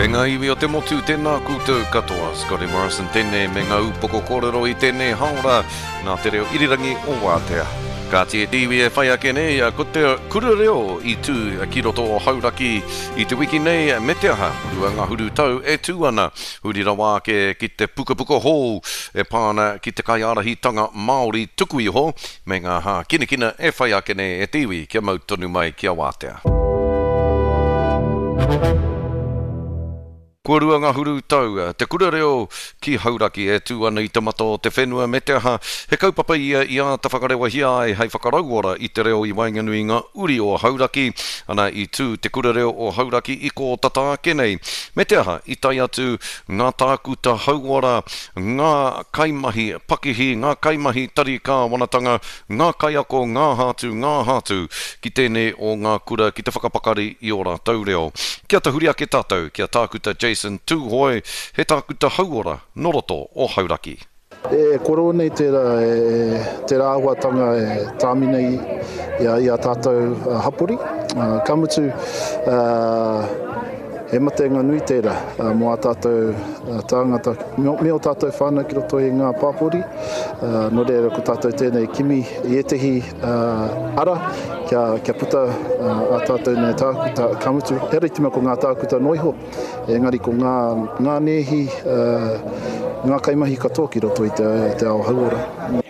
E ngā iwi o te motu, tēnā koutou katoa. Scotty Morrison tēnei me ngā upoko kōrero i tēnei haora nā te reo irirangi o Wātea. Kāti e te iwi e whai ake nei, ko te kura reo i tū ki roto o Hauraki i te wiki nei me te aha, 20 tau e tū ana. Huri rawa ake ki te pukapuka hou e pā ana ki te kaiārahitanga Māori tuku iho me ngā hākinakina e whai ake nei e te iwi kia mau tonu mai ki a Wātea. Kua 20 tau te kura reo ki Hauraki e tū ana i te mata o te whenua me te aha, he kaupapa ia i āta whakarewahia ai hei whakarauora i te reo i waenganui i ngā uri o Hauraki. Ana i tū te kura reo o Hauraki i kō tata ake nei. Me te aha, i tae atu ngā tākuta hauora, ngā kaimahi pakihi, ngā kaimahi tari kāwanatanga, ngā kaiako, ngā aha atu, ngā aha atu, ki tēnei o ngā kura ki te whakapakari i ō rātou reo. Kia tahuri ake tātou ki a Tākuta Jason Tūhoe, he tākuta hauora nō roto o Hauraki. E koro nei tērā, tērā āhuatanga e tāmi nei i a, i a tātou hapori. Ka mutu, he matenga nui tērā mō ā tātou tāngata, me ō tātou whānau ki roto i ngā pāpori. Nō reira, ko tātou tēnei kimi i ētehi ara kia, kia puta ā tātou nei tākuta. Ka mutu, ehara i te mea ko ngā tākuta noa iho, Engari ko ngā, ngā nēhi, ngā kaimahi katoa ki roto i te, te ao hauora.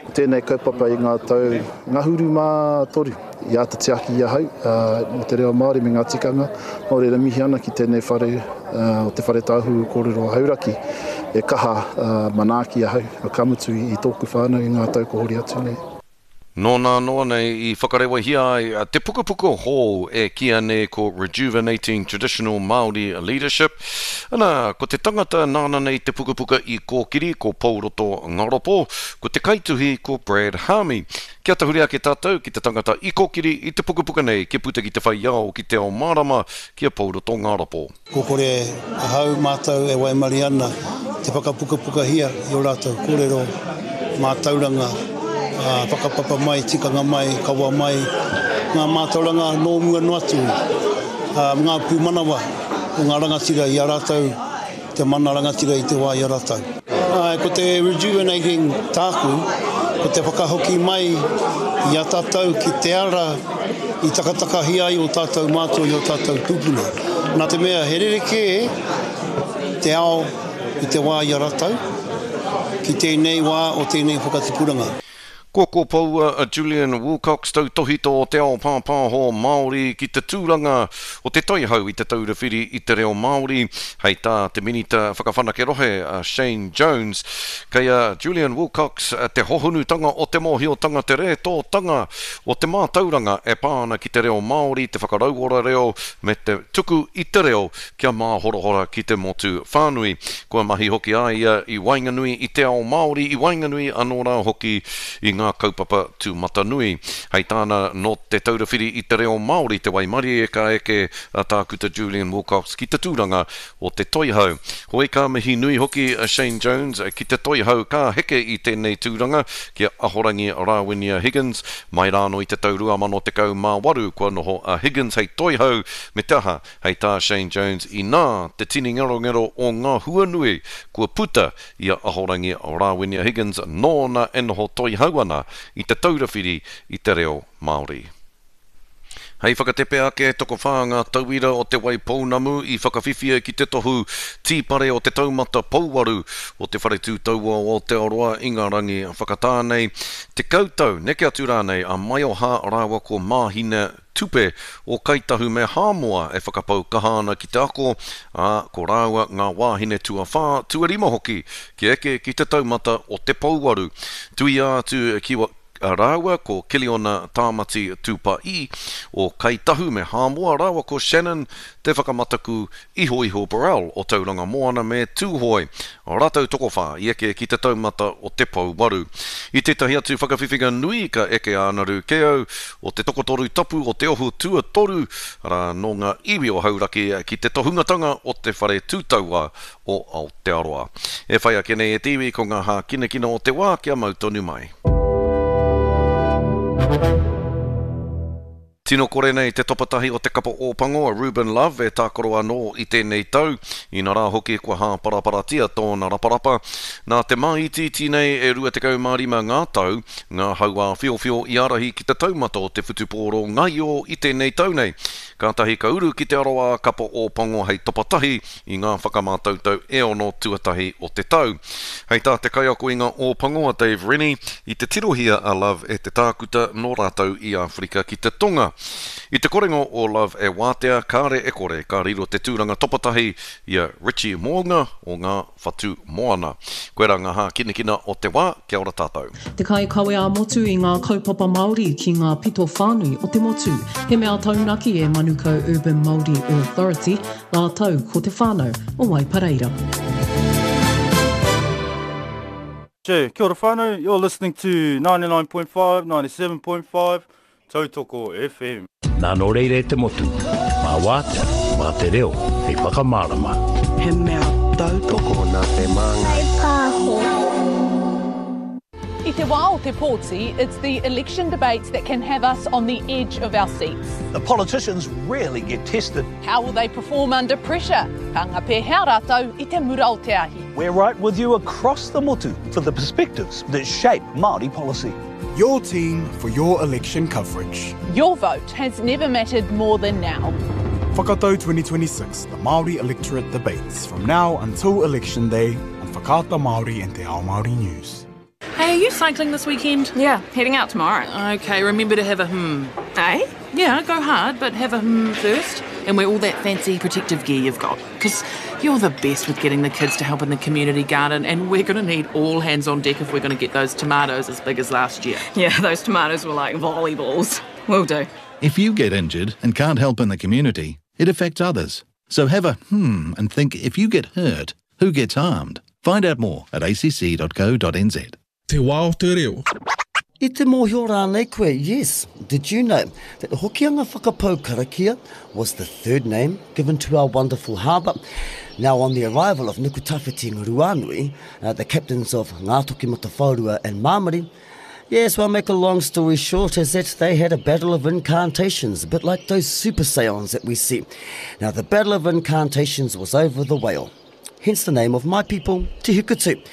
Ko tēnei kaupapa i ngā tau ngahuru mā toru i āta tiaki i ahau mō te reo Māori me ngā tikanga. Nō reira mihi ana ki tēnei whare o Te Whare Tāhuhu Kōrero Hauraki e kaha manaaki ahau, ka mutu i tōku whānau i ngā tau kua hori atu nei. Nō nā noa nei i whakarewahia ai te pukapuka hou e kīia nei ko Rejuvenating Traditional Māori Leadership. Ana, ko te tangata nāna nei te pukapuka i kōkiri ko Pouroto Ngaropo, ko te kaituhi ko Brad Haami. Kia tahuri ake tātou ki te tangata i kōkiri i te pukapuka nei kia puta ki te whai ao ki te ao mārama ki a Pouroto Ngaropo. Ko kore ahau mātou e waimarie ana te whakapukapukahia i ō rātou kōrero, mātauranga, whakapapa mai, tikanga mai, kawa mai, ngā mātauranga nō mua noa atu, ngā pūmanawa o ngā rangatira i a rātou, te mana rangatira i te wā i a rātou. Āe, ko te rejuvenating tāku, ko te whakahoki mai i a tātou ki te ara i takatakahia ai ō tātou mātua i ō tātou tūpuna. Nā te mea he rerekē te ao i te wā i a rātou ki tēnei wā o tēnei whakatipuranga. Kua kopoua a Julian Wilcox, tautōhito o te ao pāpāho Māori ki te tūranga o te Toihau i Te Taura Whiri i te Reo Māori, hei tā te Minita Whakawhanake Rohe a Shane Jones. Kei a Julian Wilcox te hohonutanga o te mōhiotanga, te rētōtanga o te mātauranga e pā ana ki te reo Māori, te whakarauora reo me te tuku i te reo kia māhorahora ki te motu whānui. Kua mahi hoki a ia i waenganui i te ao Māori, i waenganui anō rā hoki i ngā kaupapa tūmatanui. Hei tāna, nō Te Taura Whiri i te Reo Māori te waimarie ka eke a Tākuta Julian Wilcox ki te tūranga o te Toihau. Hoi ka mihi nui hoki a Shane Jones ki te Toihau ka heke i tēnei tūranga ki a Ahorangi Rāwinia Higgins. Mai rānō i te tau 2018 kua noho a Higgins hei Toihau me te aha, Hei tā Shane Jones, inā te tini ngerongero o ngā hua nui kua puta i a Ahorangi Rāwinia Higgins nōna e noho toihau ana i Te Taura Whiri i te Reo Māori. Hei whakatepe ake, tokowhā ngā tauira o Te Waipounamu i whakawhiwhia ki te tohu tīpare o te taumata pouwaru o Te Whare Tū Taua o Aotearoa i ngā rangi whakatā nei. 10 tau, neke atu rānei, a Maioha rāua ko Māhina Tupe o Kai Tahu me Hāmoa e whakapau kaha ana ki te ako, ā, ko rāua ngā wāhine tuawhā, tuarima hoki kia eke ki te taumata o te pouwaru. Tuia atu ki rāua ko Kiliona Tāmati Tūpaī o Kai Tahu me Hāmoa rāua ko Shannon Te Whakamataku Ihoiho Burrell o Tauranga Moana me Tūhoe, rātou tokowhā i eke ki te taumata o te pouwaru. I tētahi atu whakawhiwhinga nui ka eke a Anaru Keau o te tokotoru tapu o te ohu tuatoru, arā, nō ngā iwi o Hauraki ki te tohungatanga o te whare tūtauā o Aotearoa. E whai ake nei e te iwi ko ngā hākinakina o te wā kia mau tonu mai. Tino kore nei te topatahi o te kapa Ōpango a Ruben Love e tākaro anō i tēnei tau, inarā hoki kua hāparaparatia tōna raparapa. Nā te māitiiti nei e 25 ngā tau, ngā hauāwhiowhio i ārahi ki te taumata o te whutupōro ngaio i tēnei tau nei. Kātahi ka uru ki te aroā kapa Ōpango hei topatahi i ngā whakamātautau e ono tuatahi o te tau. Hei tā te kaiako i ngā Ōpango a Dave Rennie, i te tirohia a Love e te tākuta nō rātou i Āwherika ki te Tonga. I te korenga o Love e wātea, kāre e kore ka riro te tūranga topatahi i a Richie Mo'unga o ngā Whatu Moana. Koirā ngā hākinakina o te wā, kia ora tātou. Te kaikawe ā-motu i ngā kaupapa Māori ki ngā pito whānui o te motu. He mea taunaki e Manukau Urban Māori Authority rātou ko te whānau o Waipareira. Kia ora whānau, you're listening to 99.5, 97.5, Tautoko FM. Nā nō reira e te motu, mā Wātea, mā te reo hei whakamārama. He mea tautoko nā te Māngai Pāho. I te wā o te pōti, it's the election debates that can have us on the edge of our seats. The politicians rarely get tested. How will they perform under pressure? Ka anga pēhea rātou i te mura o te ahi? We're right with you across the motu for the perspectives that shape Māori policy. Your team for your election coverage. Your vote has never mattered more than now. Whakatau 2026, the Māori Electorate Debates, from now until Election Day on Whakaata Māori and Te Ao Māori News. Hey, are you cycling this weekend? Yeah, heading out tomorrow. Okay, remember to have a hmm. Eh? Yeah, go hard, but have a hmm first. And wear all that fancy protective gear you've got. Because you're the best with getting the kids to help in the community garden, and we're going to need all hands on deck if we're going to get those tomatoes as big as last year. Yeah, those tomatoes were like volleyballs. Will do. If you get injured and can't help in the community, it affects others. So have a hmm and think if you get hurt, who gets harmed? Find out more at acc.co.nz. Te wā o te reo. I te mōhio rānei koe, yes, did you know that the Hokianga Whakapau Karakia was the third name given to our wonderful harbour? Now on the arrival of Nukutawhiti Nguruanui, uh, the captains of Ngātokimatawhaorua and Māmari, Yes, well, make a long story short is that they had a battle of incantations, a bit like those super seons that we see. Now, the battle of incantations was over the whale hence the name of my people, Te Hukutu.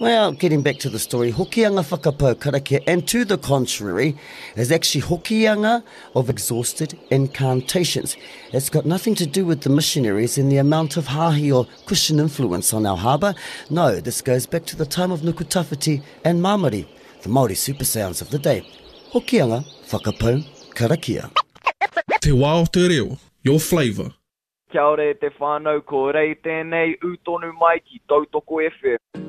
Well, getting back to the story, Hokianga Whakapau Karakia, and to the contrary, is actually Hokianga of exhausted incantations. It's got nothing to do with the missionaries and the amount of hahi or Christian influence on our harbour. No, this goes back to the time of Nukutawhiti and Mamari, the Māori super sounds of the day. Hokianga Whakapau Karakia. Te wā o te reo, your flavour. Kia ora e te whānau, ko Rei tēnei, ū tonu mai ki Tautoko FM.